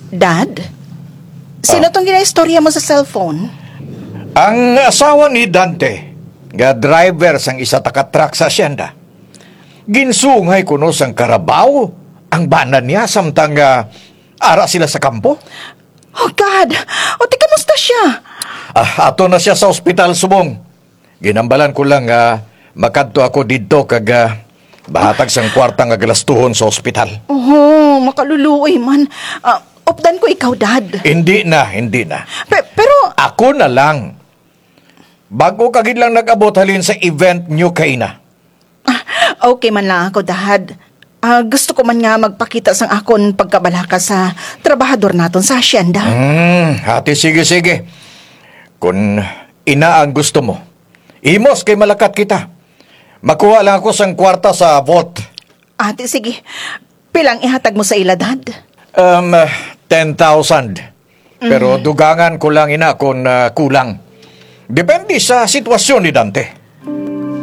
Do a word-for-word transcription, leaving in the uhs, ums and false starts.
Dad, sino Ah. tong ginaistorya mo sa cellphone? Ang asawa ni Dante, nga driver sang isa ta ka truck sa asyenda, ginsungay kuno sang karabaw ang bana niya samtang, ah, ara sila sa kampo. Oh, God! O, ti, kamusta siya? Ah, ato na siya sa ospital subong. Ginambalan ko lang nga makadto ako didto kag, ah, mahatag sang kwarta nga galastuhon sa ospital. Oh, makaluluoy man. Ah, updan ko ikaw, Dad. Hindi na, hindi na. Pe-, pero Ako na lang. Bago ka gid lang nag-abot halin sa event niyo kaina. Ah, okay man lang ako, Dad. Ah, gusto ko man nga magpakita sang akon pagkabalaka sa trabahador naton sa asyenda. Hmm, ati, sige, sige. Kun ina ang gusto mo, imos kay malakat kita. Makuha lang ako sang kwarta sa vault. Ati, sige. Pila ang ihatag mo sa ila, Dad? Um, ten thousand. Pero Mm. dugangan ko lang ina kung, ah, kulang. Depende sa sitwasyon ni Dante.